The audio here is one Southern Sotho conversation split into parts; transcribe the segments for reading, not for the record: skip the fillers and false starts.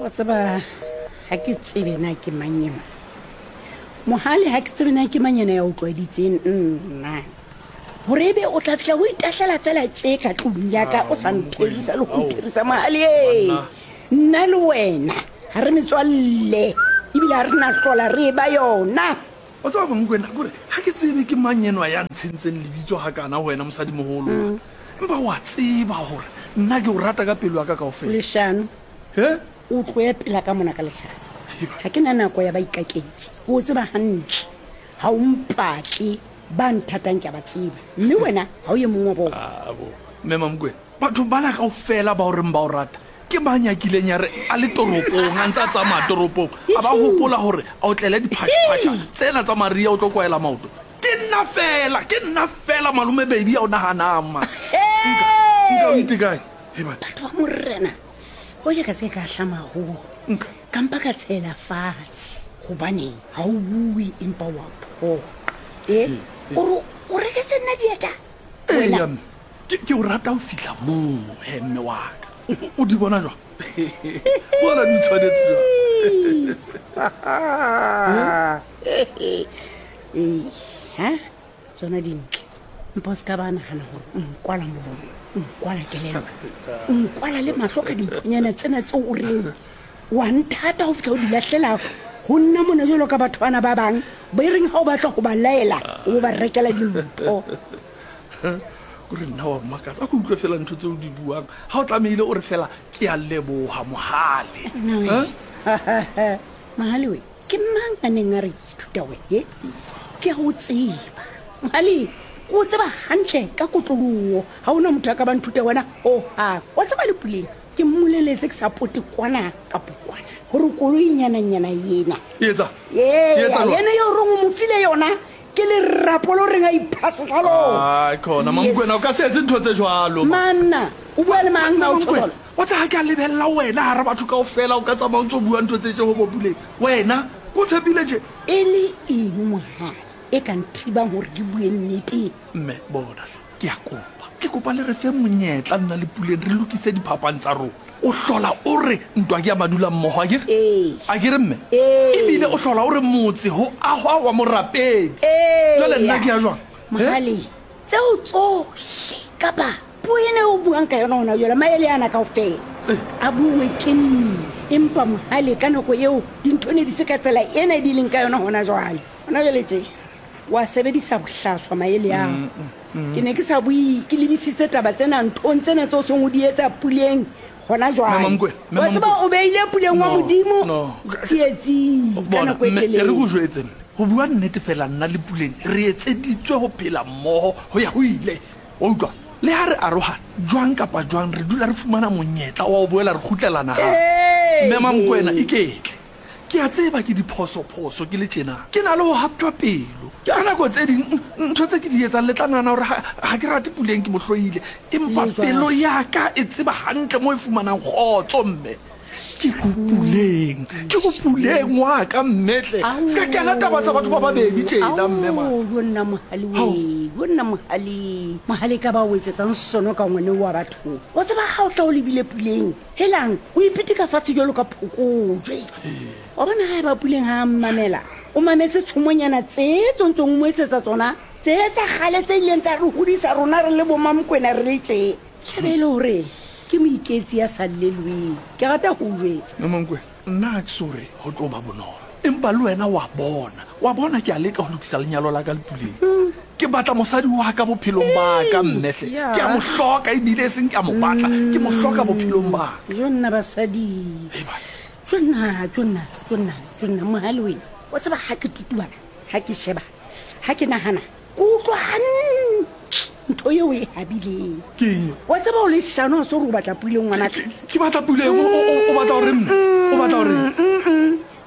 Wa tseba ga ke tsebe na ke mang ena. Mohale ga ke tsebe na ke mang ena ya o tlwaeditseng nna. Gore ebe o tla fihla o itahlela fela tše ka tlong ya ka o sa ntherisa le go ntherisa mohale e. Nna le wena ga re metswalle ebile ga re na hlola re eba yona. Wa tseba Mankwena, kore ga ke tsebe ke mang enwa ya ntshentseng lebitso hakana ho wena mosadimoholo. Empa wa tseba gore nna ke o rata ka pelo ya ka kaofela. Leshano. He? O tloye pela ka mona ka leshano. Ga ke na nako ya baikaketsi. O tseba hantle. Ga o mpatle. Ba nthatang ke a ba tseba. Mme wena ga o ye mongwe wa bona. Ah, bo. Mme Mamokwena, batho bana kaofela ba o reng ba o rata, ke mang ya kileng ya re a le toropong, a ntse a tsamaya toropong, a ba gopola gore a o tlele diphašaphaša tsena tsa Maria o tlo kwaela maoto? Ke nna fela, ke nna fela malome baby ya o naganang ma. Nka, nka o itekanye. Hei banna. Batho ba Morena, o ke ka se ka hlamago. Nka. Ka mpa ka tshela fatshe. Gobaneng ga o bue empa wa phoqa? E, o re o reketse nna dieta? Wena. Eya mme, ke, ke o rata ho fihla moo he mme wa ka. O di bona jwang? Bona di tshwanetse jwang? Ee, ha? Tsona dintle. Mpa o se ka ba nagana gore o nkwala molomo, o nkwala kelello, o nkwala le mahlo ka dimphonyana tsena tseo o reng wa nthata go fitlha o di lahlela go nna mona jalo ka batho bana ba bang ba e reng ga o batla go ba laela o bo ba rekela dimpho. Kore nna wa mmakatsa, a ko utlwe fela ntho tse o di buang. Ga o tlamehile o re fela ke a leboga Mohale. Mohale we, Ke mang a neng a re ke ithuta wena? He? Ke a o tseba. Mohale, ke o tseba hantle ka kotloloho. Ha ho na motho a ka ba nthuta wena hohang. Wa tseba le Puleng, ke mmoleletse ke sa pote kwana kapo kwana gore koloinyananyana ena. E etsa? Ee, E etsa jwang? yena eo reng o mo file yona ke lerapo lo reng a iphase ka lona. Ai, khona, Mamokwena, o ka se etse ntho tse jwalo. Manna, o bua le mang ha o tjho jwalo? Wa tseba ha ke a lebelela wena hara batho kaofela, o ka tsamaya o ntso bua ntho tse tje ho bo Puleng. Wena, ke o tshepile tje. E le eng mohale e ka nthibang hore ke bue nnete? Mme, bona hle, ke a kopa. Ke kopa le re fe monyetla nna le Puleng re lokise diphapang tsa rona. O hlola o re ntwa ke ya madulammoho, akere? Ee. Akere mme? Ee. Ebile o hlola o re motse ho ahwa wa morapedi. Ee. Jwale nna ke ya jwang? He? Mohale, tseo tsohle kapa Puo ena e o buang ka yona hona jwale, maele ana kaofela a buuwe ke nna. Empa Mohale, ka nako eo dintho ne di se ka tsela ena di leng ka yona hona jwale. Hona jwale tje, wa sebedisa bohlaswa maele ao. Ke ne ke sa bue ke lebisitse taba tsena nthong tsena tse o seng o di etsa Puleng hona jwale. Wa tseba o beile Puleng wa Modimo tsietsing ka nako e telele. E re ko jwetse mme, ho bua nnete fela nna le Puleng re etseditswe ho phela mmoho ho ya ho ile. Wa utlwa? Le ha re arohana, jwang kapa jwang re dula re fumana monyetla wa ho boela re kgutlelana hape. Mme Mamokwena, iketle. Ke a tseba ke diphosophoso ke le tjena. Ke na le ho haptjwa pelo. Ka nako tse ding, ntho tse ke di etsang le tla nahana hore ha, ha ke rate Puleng, ke mo hloile. Empa pelo ya ka e tseba hantle moo e fumanang kgotso, mme. Ke ho Puleng, ke ho Puleng wa ka mme hle. Se ka kena taba tsa batho ba babedi tjena mme man. Ao, yo nna mohale we, yo nna mohale. Mohale ka ba o etsetsang sono ka ngwane wa batho. O tseba ha o tla o lebile Puleng, helang, o ipitika fatshe jwalo ka phokojwe. Wa bona ha eba Puleng ha a mmamela, o mametse tshomonyana tse tsontsong o mo etsetsa tsona, tse tsa kgale tse ileng tsa re hodisa rona re le bo Mamokwena re le tje. Tjhebe e le hore ke moiketsi ya sa llelweng. Ke rata ho o jwetsa. Mmankwe, nna ha ke so re ho tlo ba bonolo. Empa le wena wa bona, wa bona ke a leka ho lokisa lenyalo la ka le Puleng. Ke batla mosadi wa ka bophelong ba ka, mme hle. Ke a mo hloka ebile e seng ke a mo batla, ke mo hloka bophelong ba ka. Jo nna basadi. Hei banna. Jo nna, jo nna, jo nna, jo nna, Mohale wena. Wa tseba ha ke tutubala, ha ke sheba, ha ke nahana, Ke utlwa hantle ntho eo e habileng. Ke eng eo? Wa tseba o leshano, ha se gore o batla Puleng ngwanaka. Ke batla Puleng, o batla gore mme? O batla gore?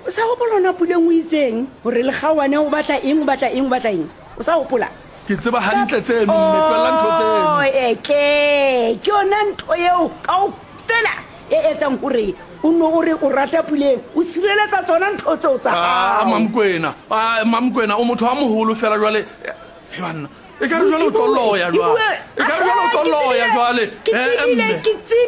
O sa gopola ona Puleng o itseng gore lekgaoane o batla eng, o batla eng, o batla eng? O sa gopola? Ke tseba hantle tseno mme, tlohella ntho tseno. Oh, eke, ke yona ntho eo kaofela e etsang gore o no o re o rata Puleng, o sireletsa tsona ntho tseo tsa Ah, hao. Mamokwena, ah, Mamokwena, o motho a moholo fela jwale. He banna, E ka re jwale o tlo loya jwale. E ka re jwale o tlo loya jwale. Eh, mme.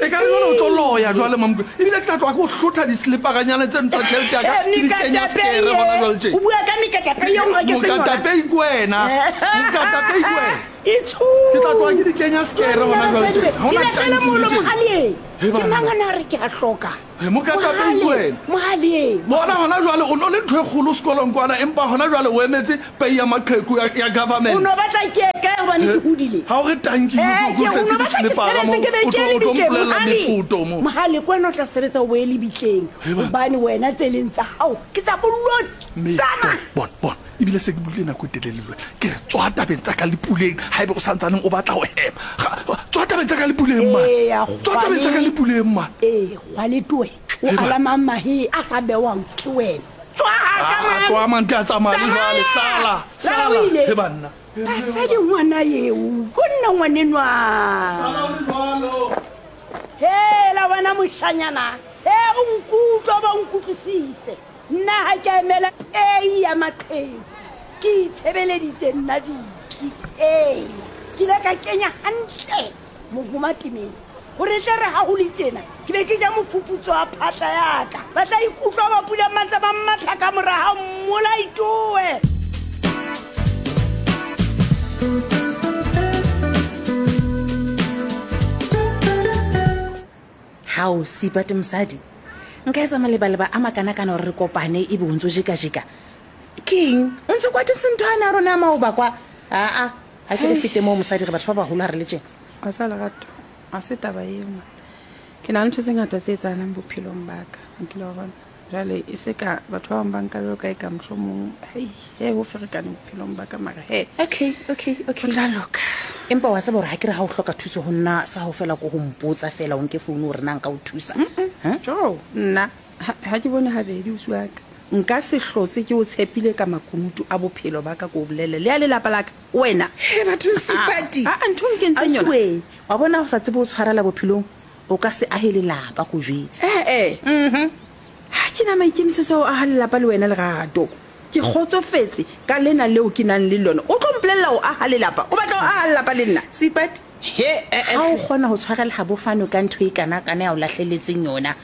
E ka re jwale o tlo loya jwale Mamokwena. Ebile ke tla tloga ke o hlotha diselepaganyana tse ntsa tšhelete ya ka ke di kenya sekere gona jwale tše. O bua ka mekatapei eo nreketseng yona. Mokatapei ke wena. Mokatapei ke wena. Itsho. Ke tla tloga ke di kenya sekere gona jwale tše. Ha hona Ke tanki molo tše. mohaleng. He Ke banna. mang a na re ke a hloka? He mokatapei ke wena. Mohaleng. Bona gona jwale o no le ntho e kgolo sekolong kwana empa gona jwale o emetse pei ya maqheku ya, ya O government. no batla ke ye kae gobane ke hodile? Ha o re tanki Eh, ke ke o o tletse no batla ke diselepara mo sebetse ke be o ke tlo ye o tlo lebitleng mpolelela Mohale. meputo mo. Mohale ke wena o tla sebetsa o boye lebitleng He banna. gobane wena tse leng tsa gago ke tsa Mme bolotsana. bon bon ebile se ke buile nako e telele le wena ke re tswa tabeng tsa ka le puleng ha ebe o santsaneng o batla go hema tswa tabeng tsa ka le puleng man Eya, tswa tabeng tsa ka le puleng man Ee, kgwaletoe o He banna. alamang mahe a sa bewang ke wena. Tswa ka Ah, man. tloa man ke a tsamaya le jwale Tsamaya! sala Lala sala o ile. he banna Basadi ngwana eo, go nna ngwanenwa. Sala o le jwalo. Hela wena moshanyana, he o nkutlwa ba o nkutlwisise. Nna ha ke a emela pei ya maqheku. Ke itshebeleditse nna Viki. Ee, ke ile ka kenya hantle mohoma temeng. Hore tle re ha ho le tjena, ke be ke ja mofufutso wa phatla ya ka. Ba tla ikutlwa ba pula mantse ba mmatha ka mora ha mmolaitowe. Hao, Seipati mosadi, nka etsa malebaleba a makanakana gore re kopane ebe o ntse o jekajeka. Ke eng? O ntse o kwatetse ntho ane ya rona ya maoba kwa? Aa, ga ke re fete moo mosadi re batho ba bagolo ga re le tjena. Wa sa lerato, ga se taba eo man. Ke na le ntho tse ngata tse etsahalang bophelong ba ka. O kile wa bona. Jwale e se ka batho ba bang ba nka jwalo ka e ka mohlomong hei he ho ferekane bophelong ba ka mara he. Okay, okay, okay. Ho tla loka. Empa wa tseba gore ga ke re ga o hloka thuso go nna sa go fela ko go mpotsa fela o nke founu gore na nka o thusa. Huh? Jo, nna ha ke bone habedi ausi wa ka. Nka se hlotse ke o tshepile ka makunutu a bophelo ba ka ko bolelle le ya lelapa la ka wena. He bathong Seipati. Ah, ntho o nkentseng yona. Ausi we, wa bona o sa tsebe o tshwarela bophelong, o ka se ahe lelapa ko jwetse. Eh eh. Ha ke na maikemisetso a ho aha lelapa le wena Lerato. Ke kgotsofetse ka lena leo ke nang le lona. O tlo mpolella ho aha lelapa. O batla ho aha lelapa le nna? Seipati, He, eh, eh. ha o kgona ho tshwarela ha bofano ka ntho e kana-kana ya o lahleletseng yona,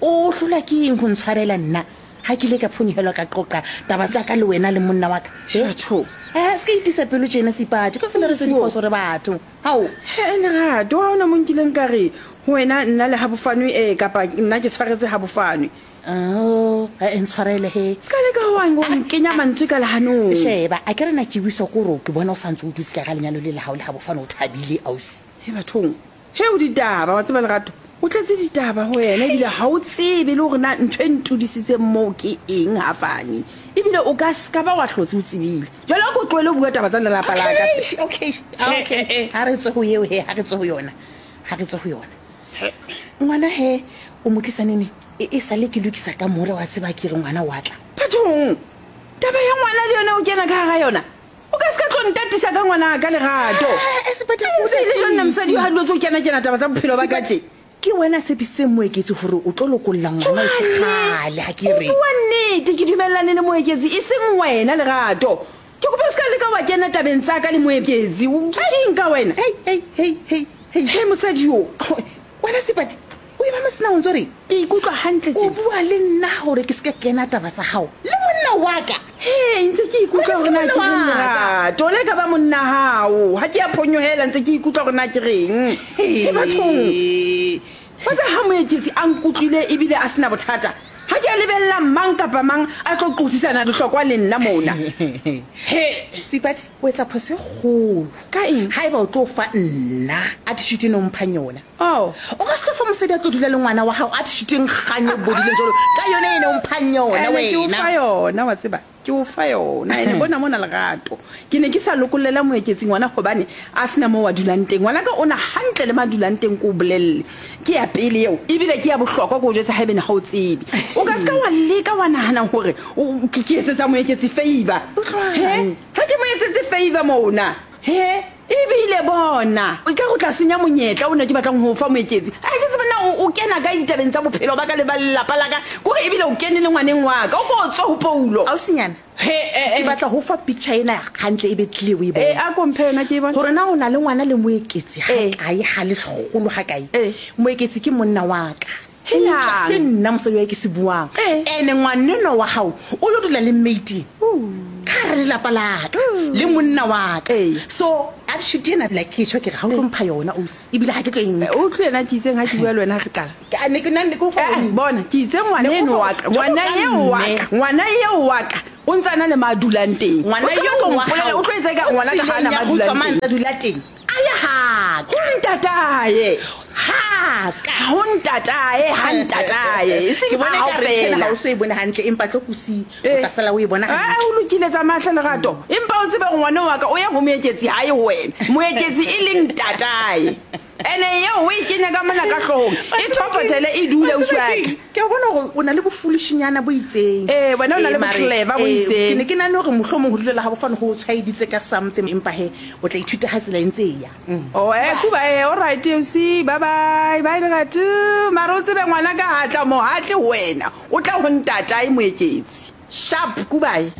o hlolwa ke eng ho ntshwarela nna? Ha ke ile ka phonyohelwa ka qoqa taba tsa ka le wena le monna wa ka. He? Batho. Eh, se ka itisa pelo tjena Seipati, kaofela re tse diphoso re batho. Hao. He, Lerato, ha hona mo nkileng ka re ho wena nna le ha bofanwe eh kapa nna ke tshwaretse ha bofanwe. Oh, eh, ntshwarele he. Se ka leka ho wa nkenya mantswe ka lehanong. Sheba, a ke re na ke buiswa ke hore ke bona o sa ntse o dutse ka ga lenyalo le la hao le ha bofano o thabile ausi. He bathong, he o ditaba wa tseba Lerato. O tletse ditaba ho wena ebile ha o tsebe le hore na ntho e ntudisitseng moo ke eng ha fane. Ebile o ka ska ba wa hlotse o tsebile. Jwale a ko tlohele ho bua taba tsa lelapa la ka. Okay, okay, okay. Ha re tswe ho eo he, ha re tswe ho yona. Ha re tswe ho yona. Ngwana he, o mo tlisa nene? E sale ke lokisa ka more wa tseba ke re ngwana wa tla. Bathong, taba ya ngwana le yona o kena ka hara yona. O ka se ka tlo ntatisa ka ngwana ka Lerato. Eh, Seipati, Ke ntse e le jwang nna mosadi ha dilo tse o kena kena taba tsa bophelo ba ka tje? Ke wena a tshepisitseng Moeketsi hore o tlo lokolla ngwana e se kgale ha ke re. O bua nnete, ke dumellane le Moeketsi e seng wena Lerato. Ke kopa o se ka leka wa kena tabeng tsa ka le Moeketsi. O ke eng ka wena? Hei, hei, hei, hei, hei. He mosadi yo. Wena Seipati, o ema mosina o ntso reng? Ke ikutlwa hantle O tje. bua le nna hore ke se ke kena taba tsa hao le monna wa ka. He, ntse ke ikutlwa hore na ke reng Lerato, le ka ba monna hao. Ha ke a phonyohela ntse ke ikutlwa hore na ke reng. He bathong. Wa tseba ha Moeketsi a nkutlwile ebile a sena bothata. Ha ke a lebella mang kapa mang a tlo qotsisana lehlokwa le nna mona. He, Seipati, o etsa phoso e kgolo. Ka eng? Haeba o tlo fa nna attitude eno o mphang yona. Oh. O ka se tlo fa mosadi a tlo dula le ngwana wa hao attitude e nkgang e bodileng jwalo ka yona eno o mphang yona Ene ke o wena. fa yona wa tseba. Ke o fa yona. Ene bona mona Lerato. Ke ne ke sa lokollela Moeketsi ngwana hobane a sena moo a dulang teng. Ngwana ka ona hantle le ma dulang teng ko o bolelle. Ke ya pele eo ebile ke ya bohlokwa ko o jwetsa haebene ha o tsebe. O ka ska wa leka wa nahana hore o ke etsetsa Moeketsi favor. Utlwang. He? Ha ke mo etsetse favor mona. He? Ebile bona, o ka go tla senya monyetla o ne ke batlang ho o fa Moeketsi. Ha ke tsebe na o o kena kae ditabeng tsa bophelo ba ka le ba lelapa la ka? Kore ebile o kene le ngwaneng wa ka. O ko tswe ho Paulo. Ausinyana, He, eh, ke eh. batla ho fa picture ena hantle e be clear o e Eh, bone. a ko mphe yona ke e bone. Gore na o na le ngwana le Moeketsi ha Eh. kae, ha le golo ha kae. Eh. Moeketsi ke monna wa ka. Helang. Utlwa se nna mosadi wa ke se buang. Eh. Ene ngwanenwa wa hao o lo dula le mate ka hara lelapa la ka le monna wa ka. Eh. So attitude ena like ke tjho ke re ha o tlo mpha yona ausi, ebile ha ke tlo e nka. O utlwe yena ke itseng ha ke bua le wena ha re qala. Ke- a ne ke nna ne ke o fa Eh, yona. bona ke itse ngwana Ne eno o fa- wa ka, jwalo ngwana ka eo wa mme. ka, ngwana eo wa ka o ntse a na le ma dulang teng. Ngwana O se eo tlo wa mpolela, hao o tlo etsa eka o ngwana ka ha a na tseleng ya ma ho tswa dulang mane teng. a dula teng. A ye ha ka. Ho ntatae. Ha ka. Ho ntatae, ha ntatae. E seng Ke bona ha ekare tjhena fela. ha o so e bone hantle, empa tlo ko siye. O Eh. tla sala o e bona Ah, hantle. o lokile tsa mahle lerato. Empa o tsebe hore ngwana wa ka o ya ho Moeketsi ha ye ho wena. Moeketsi e leng ntatae. Ene eo o e kenya ka mona ka hloohong. E thopothele e dule Wa ausi tseba wa ka. keng? Ke a bona hore o na le bofolishinyana bo itseng. Eh, wena o na Eh, le mare, bo-clever bo eh, itseng. Ke ne ke nahane hore mohlomong ho dulela ha bofane ho o tshwaeditse ka something, empa he, o tla ithuta ha tsela e ntse e ya. Oh, eh, kuba eh, all right, ausi. Bye bye. Bye lerato. Mara o tsebe ngwana ka ha tla mo, ha tle ho wena. O tla ho ntatae Moeketsi. Sharp, kubae.